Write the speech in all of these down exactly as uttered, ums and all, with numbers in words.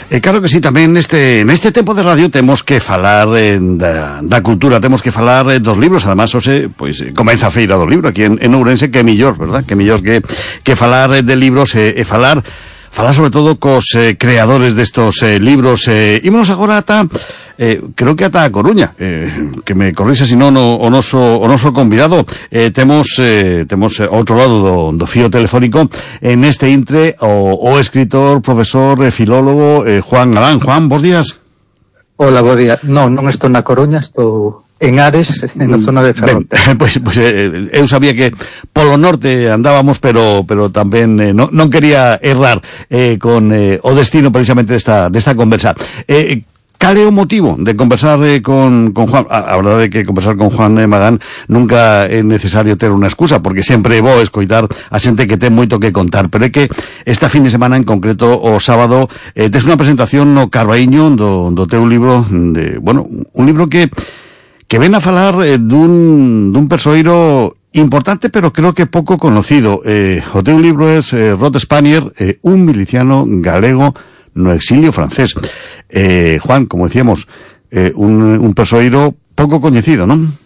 Eh, claro que sí, tamén neste neste tempo de radio temos que falar eh, da, da cultura, temos que falar eh, dos libros, además, hoxe, pois, eh, comeza a feira do libro aquí en, en Ourense, que é millor, verdad? Que millor que, que falar eh, de libros e eh, eh, falar falar sobre todo cos eh, creadores destos eh, libros. Eh, ímonos agora ata, eh, creo que ata a Coruña, eh, que me corrixa si non o, o noso o noso convidado. Eh, temos eh, temos ao outro lado do, do fío telefónico en este intre o, o escritor, profesor, eh, filólogo eh, Juan Galán. Juan, bos días. Hola, bo día. Non, non estou na Coruña, estou en Ares, na zona de Ferrol. Ben, pois, pois eh, eu sabía que polo norte andábamos, pero pero tamén eh, non, non quería errar eh, con eh, o destino precisamente desta desta conversa. Eh, cal é o motivo de conversar eh, con, con Juan? A, a verdade é que conversar con Juan eh, Magán nunca é necesario ter unha excusa, porque sempre é bo escoitar a xente que ten moito que contar, pero é que esta fin de semana, en concreto o sábado, eh, tes unha presentación no Carbaíño do, do teu libro, de, bueno, un libro que que ven a falar eh, dun, dun persoeiro importante, pero creo que pouco conocido. Eh, o teu libro é eh, Rod Spanier, eh, un miliciano galego no exilio francés. Eh, Juan, como decíamos, eh, un, un persoeiro pouco coñecido, non?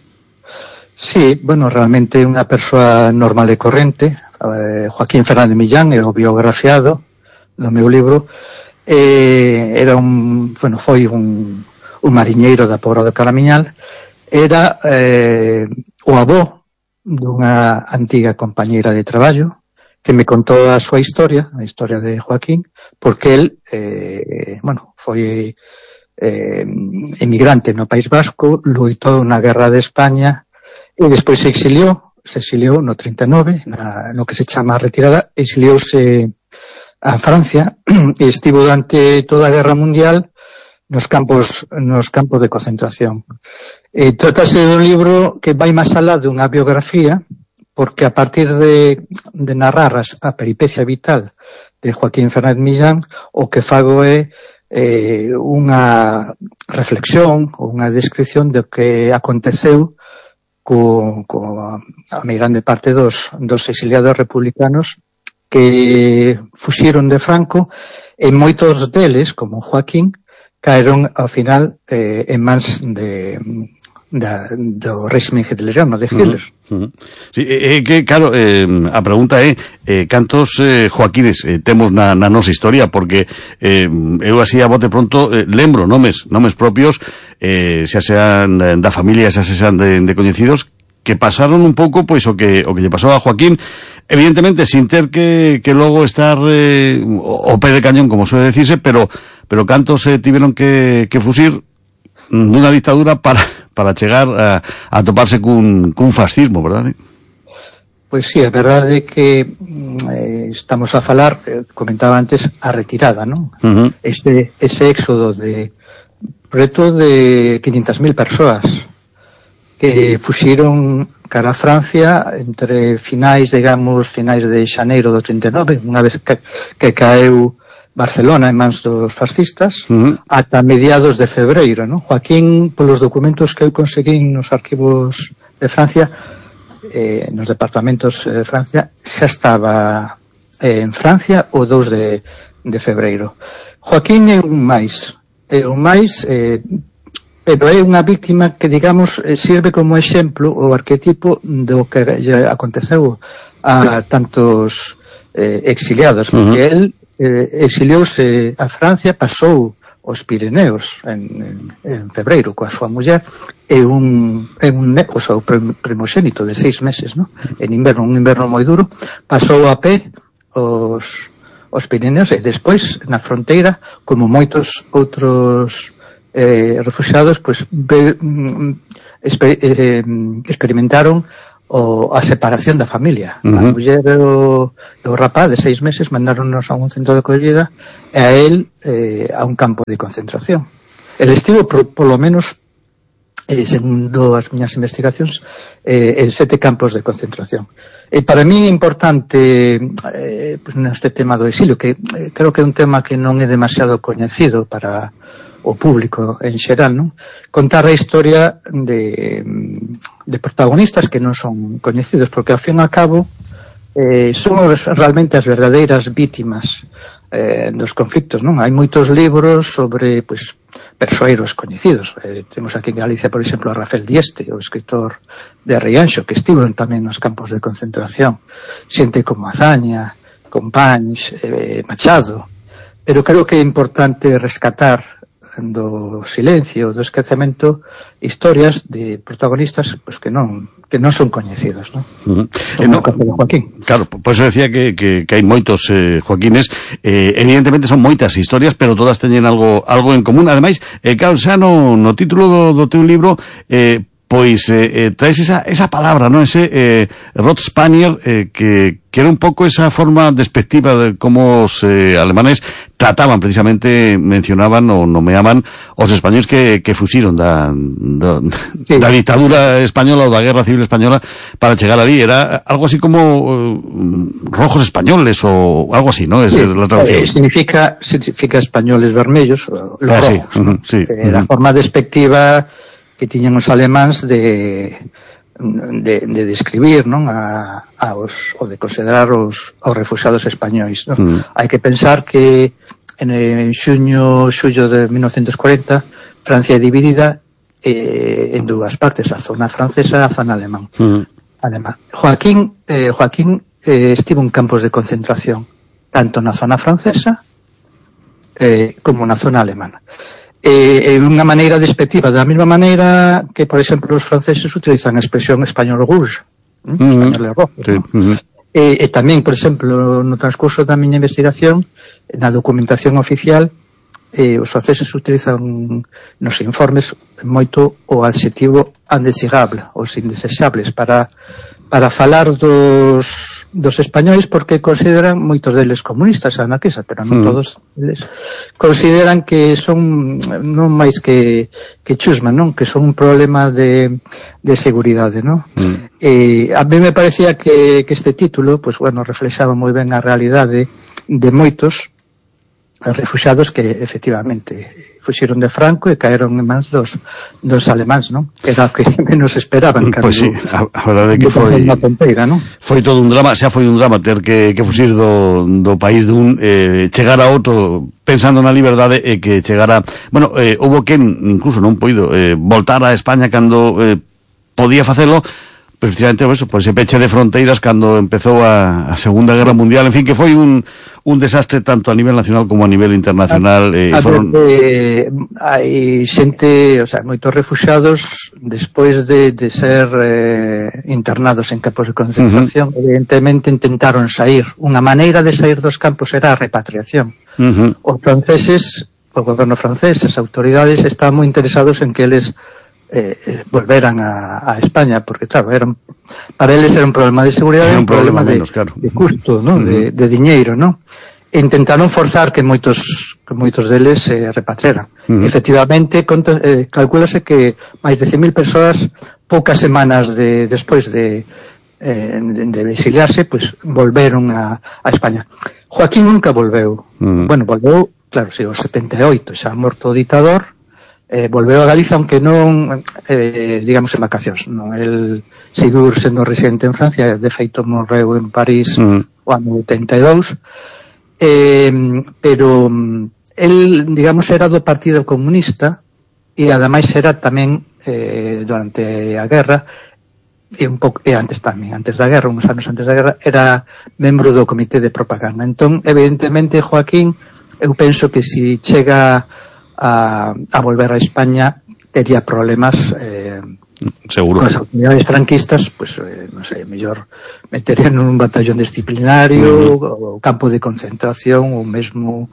Sí, bueno, realmente unha persoa normal e corrente. Eh, Joaquín Fernández Millán é o biografiado do meu libro. Eh, era un, bueno, foi un, un mariñeiro da Pobra do Caramiñal. Era eh, o avó dunha antiga compañeira de traballo que me contou a súa historia, a historia de Joaquín, porque el, eh, bueno, foi eh, emigrante no País Vasco, loitou na Guerra de España e despois se exiliou, se exiliou no trinta e nove, na, no que se chama retirada, exiliouse a Francia e estivo durante toda a Guerra Mundial nos campos nos campos de concentración. E trátase dun libro que vai máis alá dunha biografía, porque a partir de, de narrar a peripecia vital de Joaquín Fernández Millán, o que fago é eh, unha reflexión ou unha descripción do que aconteceu co, co a mai grande parte dos, dos exiliados republicanos que fuxiron de Franco, e moitos deles, como Joaquín, caeron ao final eh, en mans de, da, do réxime hitleriano de Hitler. Uh -huh. Sí, é eh, que, claro, eh, a pregunta é eh, cantos eh, Joaquines eh, temos na, na nosa historia, porque eh, eu así a bote pronto eh, lembro nomes, nomes propios, eh, xa sean da familia, xa sean de, de coñecidos, que pasaron un pouco pois o que o que lle pasou a Joaquín, evidentemente sin ter que, que logo estar eh, o pé de cañón, como suele decirse, pero pero cantos se eh, tiveron que, que fusir dunha dictadura para para chegar a, a toparse cun, cun fascismo, verdade? Pois sí, a verdade é que eh, estamos a falar, eh, comentaba antes, a retirada, non? Uh -huh. Este, ese éxodo de preto de quinientas mil persoas que fuxiron cara a Francia entre finais, digamos, finais de xaneiro do trinta e nove, unha vez que, que caeu Barcelona en mans dos fascistas, uh -huh. ata mediados de febreiro, non? Joaquín, polos documentos que eu conseguín nos arquivos de Francia, eh, nos departamentos de Francia, xa estaba eh, en Francia o dous de, de febreiro. Joaquín é un máis, é un máis, eh, pero é unha víctima que, digamos, sirve como exemplo o arquetipo do que aconteceu a tantos eh, exiliados, porque uh -huh. el eh, exiliouse a Francia, pasou os Pirineos en, en, en febreiro coa súa muller, e un, e un o seu primogénito de seis meses, no? En inverno, un inverno moi duro, pasou a pé os, os Pirineos, e despois na fronteira, como moitos outros Eh, refugiados, pues be, exper, eh, experimentaron o, a separación da familia. Uh -huh. A muller e o, o rapaz de seis meses mandáronnos a un centro de acollida e a él eh, a un campo de concentración. El estivo por, por lo menos eh, segundo as miñas investigacións eh, en sete campos de concentración. E para mí é importante eh, pues, neste tema do exilio, que eh, creo que é un tema que non é demasiado coñecido para o público en xeral, non? Contar a historia de, de protagonistas que non son coñecidos, porque ao fin e ao cabo eh, son realmente as verdadeiras vítimas eh, dos conflictos, non? Hai moitos libros sobre, pois, persoeiros coñecidos. Eh, temos aquí en Galicia, por exemplo, a Rafael Dieste, o escritor de Rianxo, que estivo tamén nos campos de concentración. Xente como Azaña, Companys, eh, Machado. Pero creo que é importante rescatar do silencio, do esquecemento, historias de protagonistas pues, que non que non son coñecidos, non? Uh-huh. Eh, no, Joaquín. Claro, por eso decía que, que, que hai moitos eh, Joaquines, eh, evidentemente son moitas historias, pero todas teñen algo algo en común. Ademais, eh, claro, xa no, no título do, do teu libro, eh, pois eh, eh, traes esa, esa palabra, ¿no? Ese eh, Rot Spanier, eh, que, que era un pouco esa forma despectiva de como os eh, alemanes trataban, precisamente, mencionaban o nomeaban os españoles que, que fuxiron da, da, sí. da dictadura española ou da guerra civil española para chegar ali. Era algo así como uh, rojos españoles ou algo así, ¿no? Es sí. la traducción. Eh, significa, significa españoles vermellos, los ah, rojos, sí. ¿no? Uh-huh, sí. Eh, uh-huh. La forma despectiva que tiñan os alemáns de, de, de describir, non? A, a os, ou de considerar os, os refugiados españois, non? Mm. Hai que pensar que en, en xuño, xullo de mil novecientos cuarenta, Francia é dividida eh, en dúas partes, a zona francesa e a zona alemán. Mm. alemán. Joaquín, eh, Joaquín eh, estivo en campos de concentración, tanto na zona francesa eh, como na zona alemana. Eh, unha maneira despectiva, da mesma maneira que, por exemplo, os franceses utilizan a expresión español rouge, ¿eh? uh-huh. español rojo, sí. ¿no? uh-huh. e, e tamén, por exemplo, no transcurso da miña investigación, na documentación oficial, eh, os franceses utilizan nos informes moito o adxetivo indesirable, os indesexables, para para falar dos, dos españois, porque consideran moitos deles comunistas, anarquistas, pero non mm. todos eles consideran que son non máis que, que chusma, non? Que son un problema de, de seguridade, non? Mm. E a mí me parecía que, que este título, pues bueno, reflexaba moi ben a realidade de moitos refugiados que efectivamente fuxiron de Franco e caeron en mans dos, dos alemáns, non? Era o que menos esperaban. Pois pues sí, a, a verdade que foi tonteira, non? Foi todo un drama, xa foi un drama ter que, que fuxir do, do país dun, eh, chegar a outro pensando na liberdade e que chegara, bueno, eh, houbo quen incluso non poido eh, voltar a España cando eh, podía facelo, precisamente por eso, por ese peche de fronteiras cando empezou a, a Segunda Guerra sí. Mundial, en fin, que foi un, un desastre tanto a nivel nacional como a nivel internacional. Eh, a foron... eh, hai xente, o sea, moitos refugiados despois de, de ser eh, internados en campos de concentración, uh-huh. evidentemente intentaron sair. Unha maneira de sair dos campos era a repatriación. Uh-huh. Os franceses, o goberno francés, as autoridades estaban moi interesados en que eles Eh, volveran a, a España, porque claro, eran, para eles era un problema de seguridade, era un problema, problema menos, de, claro. de custo, ¿no? Uh-huh. de, de diñeiro, ¿no? E intentaron forzar que moitos que moitos deles se eh, repatriaran. Uh-huh. Efectivamente, conta, eh, calculase que máis de cen mil persoas, poucas semanas de, despois de, eh, de, de exiliarse, pues volveron a, a España. Joaquín nunca volveu. Uh-huh. Bueno, volveu, claro, si, os setenta e oito, xa morto o ditador, Eh, volveu a Galiza, aunque non eh, digamos en vacacións, non? El seguiu sendo residente en Francia, de feito morreu en París mm. o ano oitenta e dous, eh, pero el, digamos, era do Partido Comunista e ademais era tamén eh, durante a guerra e un pouco, e antes tamén, antes da guerra, uns anos antes da guerra, era membro do comité de propaganda. Entón, evidentemente, Joaquín, eu penso que si chega A, a volver a España tería problemas eh, seguro con as autoridades franquistas, pues eh, non sei, mellor meterían nun batallón disciplinario, uh-huh. o campo de concentración, ou mesmo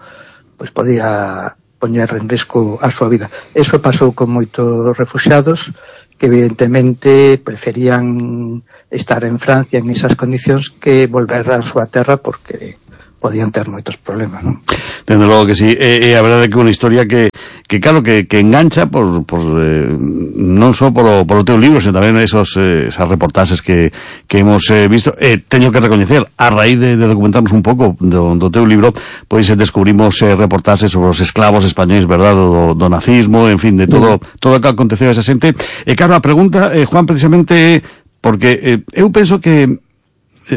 pues podía poñer en risco a súa vida. Eso pasou con moitos refugiados que evidentemente preferían estar en Francia en esas condicións que volver a súa terra, porque podían ter moitos problemas, non? Dende logo que sí, e, e a verdade é que é unha historia que, que claro, que, que engancha por, por eh, non só por o, por o teu libro, sino tamén esos, eh, esas reportaxes que, que hemos eh, visto. E eh, teño que recoñecer, a raíz de, de documentarnos un pouco do, do teu libro, pois eh, descubrimos eh, reportaxes sobre os esclavos españois, verdad, do, do nazismo, en fin, de todo, mm. todo o que aconteceu a esa xente. E claro, a pregunta, eh, Juan, precisamente, porque eh, eu penso que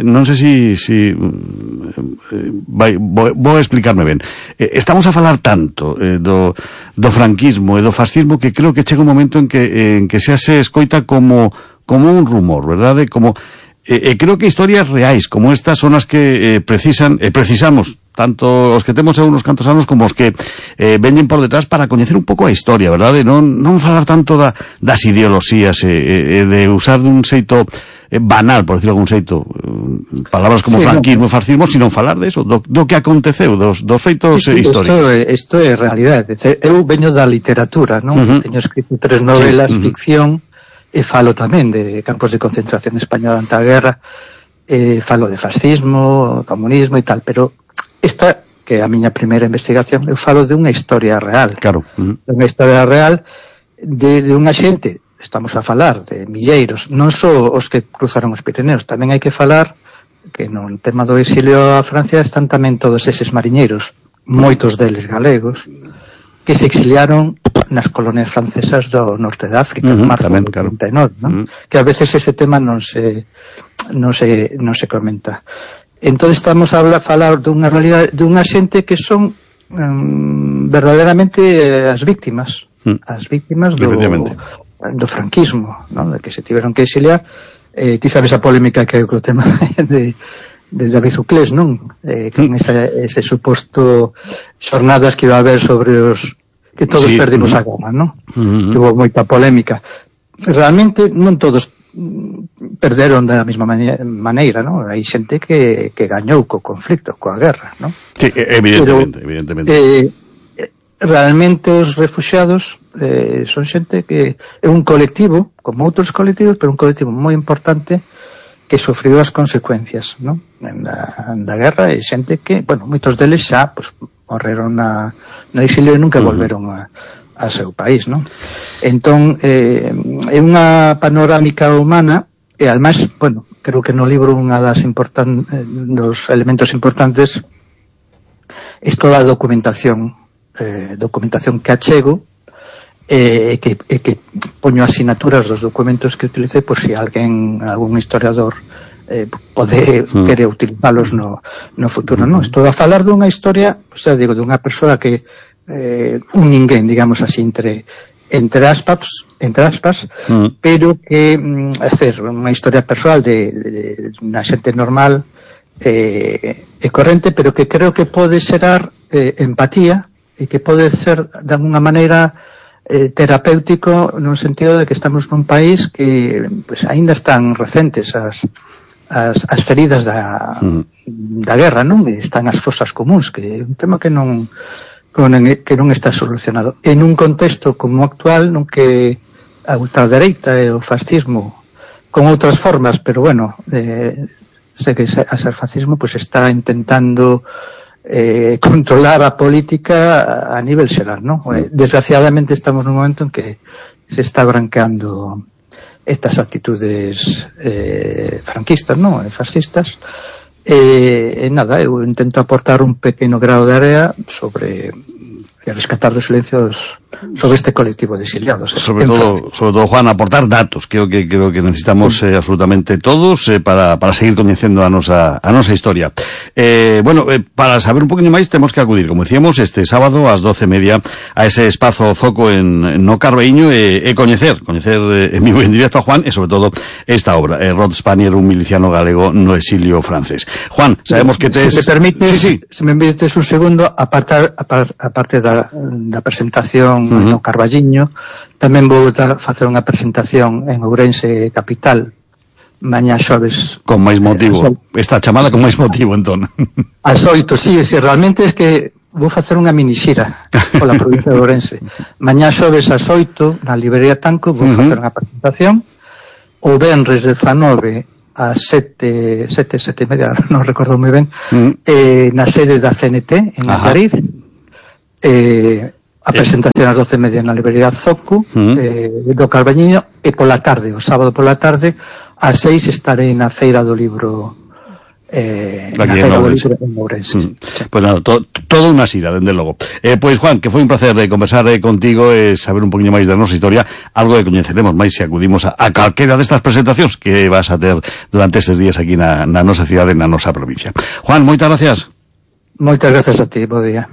non sei si, si eh, vai, vou, vou explicarme ben. Eh, estamos a falar tanto eh, do, do franquismo e do fascismo que creo que chega un momento en que, eh, en que xa se escoita como, como un rumor, verdade? Como, eh, eh, creo que historias reais como estas son as que eh, precisan, eh, precisamos tanto os que temos uns cantos anos como os que eh, veñen por detrás para coñecer un pouco a historia, verdade? Non, non falar tanto da, das ideoloxías e eh, eh, de usar dun xeito eh, banal, por decirlo algún xeito, eh, palabras como sí, franquismo e no. fascismo, sino falar de eso, do, do que aconteceu, dos, dos feitos sí, históricos. Isto é realidade. Eu veño da literatura, non? Uh -huh. Teño escrito tres novelas, sí, uh -huh. ficción, e falo tamén de campos de concentración española ante a guerra, e falo de fascismo, comunismo e tal, pero esta, que é a miña primeira investigación, eu falo de unha historia real. Claro. Uh -huh. De unha historia real de, de unha xente, estamos a falar de milleiros, non só os que cruzaron os Pirineos, tamén hai que falar que no tema do exilio a Francia están tamén todos eses mariñeiros, moitos deles galegos, que se exiliaron nas colonias francesas do norte de África, uh -huh, en marzo tamén, do trinta e nove, claro. ¿no? Uh -huh. Que a veces ese tema non se non se, non se comenta. Entón estamos a falar dunha realidade, dunha xente que son um, verdadeiramente eh, as víctimas, mm. as víctimas do, do franquismo, ¿no? De que se tiveron que exiliar. Eh, ti sabes a polémica que hai co tema de, de David Uclés, non? Eh, con mm. esa, ese suposto xornadas que iba a haber sobre os que todos sí, perdimos mm. a guerra, non? Mm -hmm. Que hubo moita polémica. Realmente non todos perderon da mesma maneira, ¿no? Hai xente que, que gañou co conflicto, coa guerra, ¿no? Sí, evidentemente, Pero, evidentemente. Eh, realmente os refuxiados eh, son xente que é un colectivo, como outros colectivos, pero un colectivo moi importante que sofriu as consecuencias, ¿no? Da, da guerra, e xente que, bueno, moitos deles xa, pues, morreron na, no exilio e nunca uh -huh. volveron a a seu país, non? Entón, eh, é unha panorámica humana e, además, bueno, creo que no libro unha das important, eh, dos elementos importantes é toda a documentación eh, documentación que achego e eh, que, eh, que poño asinaturas dos documentos que utilicei por si alguén, algún historiador eh, pode mm. querer utilizalos no, no futuro, non? Estou a falar dunha historia, pues, xa digo, dunha persoa que Eh, un ninguén, digamos así, entre entre aspas, entre aspas mm. pero que, mm, hacer unha historia persoal de, de, de unha xente normal eh, e corrente, pero que creo que pode xerar eh, empatía e que pode ser de alguna maneira eh, terapéutico no sentido de que estamos nun país que pues, aínda están recentes as as, as feridas da, mm. da guerra, non? Están as fosas comuns, que é un tema que non que non está solucionado. En un contexto como actual, non que a ultradereita e o fascismo con outras formas, pero bueno, eh, sei que a ser fascismo pues está intentando eh, controlar a política a nivel xeral, ¿no? Eh, desgraciadamente estamos nun momento en que se está branqueando estas actitudes eh, franquistas, ¿no? Fascistas. E, e nada, eu intento aportar un pequeno grao de area sobre e rescatar dos silencios sobre este colectivo de exiliados. Eh, sobre todo, sobre todo, Juan, aportar datos, creo que creo que necesitamos eh, absolutamente todos eh, para, para seguir coñecendo a nosa, a nosa historia. Eh, bueno, eh, para saber un poquinho máis temos que acudir, como decíamos, este sábado ás doce e media a ese espazo Zoco en, en no Carbeíño e, e coñecer, coñecer eh, en vivo en directo a Juan e sobre todo esta obra, eh, Rod Spanier, un miliciano galego no exilio francés. Juan, sabemos que tes... Si me permites, sí, sí. si me permites un segundo, aparte, aparte da, da presentación uh-huh. no Carballiño, tamén vou dar, facer unha presentación en Ourense capital mañá xoves. Con máis motivo, esta chamada con máis motivo, entón. As oito, sí, sí, realmente é que vou facer unha minixira pola provincia de Ourense. Mañá xoves ás oito, na librería Tanco, vou uh-huh. facer unha presentación. O venres dezanove ás sete, sete, sete e media, non recordo moi ben, uh-huh. eh, na sede da C N T, en Allariz. Eh, a presentación ás doce e media na librería Zoco, uh-huh. eh, do Carballiño, e pola tarde, o sábado pola tarde, ás seis estarei na Feira do Libro eh, na Feira do Libro en Ourense. Mm. Sí. Pues nada, to, todo unha xira, dende logo. Eh, pois, Juan, que foi un placer eh, conversar eh, contigo e eh, saber un poquinho máis da nosa historia, algo que coñeceremos máis se acudimos a, a calquera destas presentacións que vas a ter durante estes días aquí na, na nosa cidade, na nosa provincia. Juan, moitas gracias. Moitas gracias a ti, bo día.